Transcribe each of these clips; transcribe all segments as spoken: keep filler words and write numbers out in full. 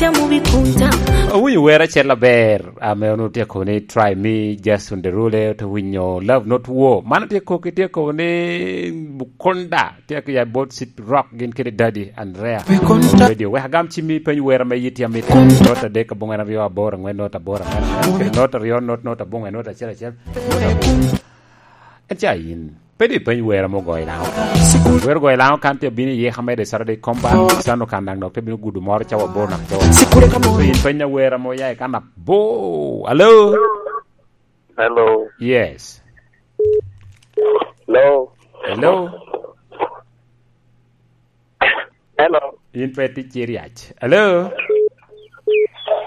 Awinyo wer acel aber, ame onwoŋo tye kobo ni Try Me, Jason Derulo, te winyo Love Not War. Man tye kok, tye kobo ni Bukonda, tye ki ya bot City Rock, gin kede Daddy Andrea. Radio, wek agam cimmi, peny wer ame yit ya mit. Not adek aboŋwen aryo aboro aŋwen not aboro aŋwen aŋwen, kede not aryo not not aboŋwen not acel acel. En ca yin. Pe di peny wer ame ogoyo i Laŋo. Wer ogoyo i Laŋo kan te bino i yeka mere i Saturday Combat. Sano kan daŋ dok te bino gudo moro cawa aboro naka to. So yin penya wer ame oya i kan abo. Hello? Hello. Yes. Hello. Hello? Hello. In pe tic ci ryec. Hello?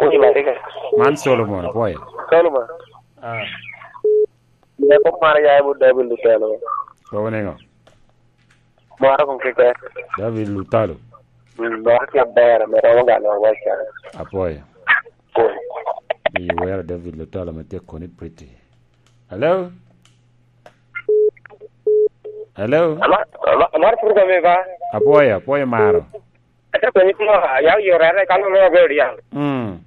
Wi Marika. Man Solomon, apwoyo. Solomon. Ah. Nyako mara ya ibu David Lutalo. Kobo niŋo? Mara kong keke. David Lutalo. Mm, mara ki aber, ame romo galo waca. Apwoyo. Cool. Ni wera David Lutalo me tek koni pretty. Hello? Hello? Ama, ama, amaro pur kome ba? Apwoyo, apwoyo maro. Ate penyi kuma, ya yore are kalo lo be odiang. Mm.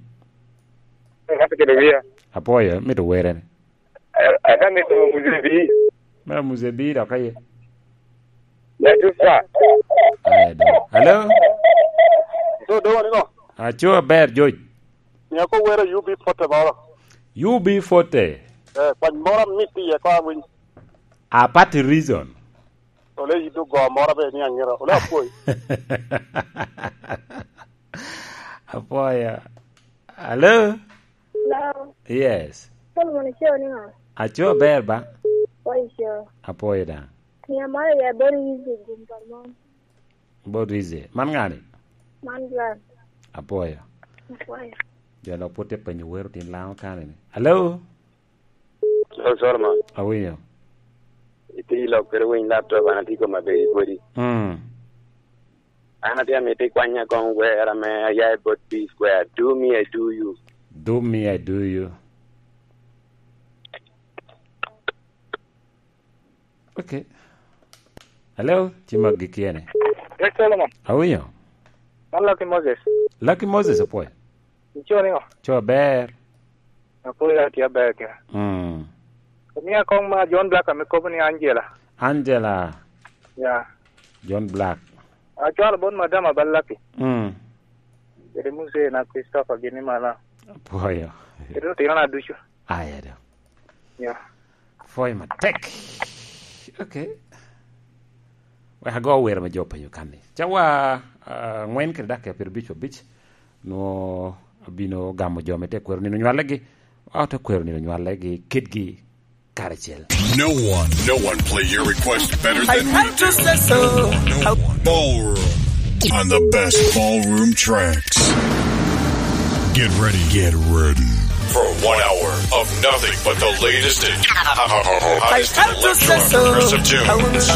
Ngati kede wiya. Apwoyo, mito were ni. Eh, ate mito muzebi. Mera muzebi dok aye. Ya tusa. Aye do. Hello? So, do wani no? Aco aber, George. Ni ako wera U B forty moro. U B forty? Eh, kwany moro mit iye ko awiny. A party reason? Ole yido go moro be ni angera. Ole apwoy. Apwoyo. Hello? Hello. Yes. Solomon, ico niŋo? Aco aber ba? Apwoyo ico. Apwoyo daŋ. Ni amaro ya body easy gum pa mon. Body easy. Man ŋani? Man Gladys. Apwoyo. Apwoyo. Jo lok pwod tye penyo wero tin Laŋo kani ni. Hello? Hello, Solomon. Awinyo. Itye i lok kede winy laptop, an atye i koma bedi kodi. Mm. An atye amito ikwanya kong wer ame aya i bot B Square. Do me, I do you. Do me, I do you. Okay. Hello, ci mag gik yene. Yes, Solomon. Awinyo. Man Lucky Moses. Lucky Moses, apwoyo. Ico niŋo? Co ber. Apwoyo, atye aber kene. Mm. Omia kong ma John Black ame kobo ni Angela. Angela. Ya. John Black. Acwalo bot madam Abalaki. Mm. Kede Musa na Christopher gini mala. Apwoyo. Kede otino na ducu. Aya do. Ya. Apwoyo matek. Okay. Wek ago wer ma jo openyo kan ni. Cawa, ah, angwen kede dakika pyerabic abic. Nwo abino gamo jo me te kwero nino nywalegi. Wa te kwero nino nywalegi kitgi karacel. No one, no one play your request better than we do. No one. Ballroom on the best ballroom tracks. Get ready, get ready for one hour of nothing but the latest and hottest electro and progressive tunes.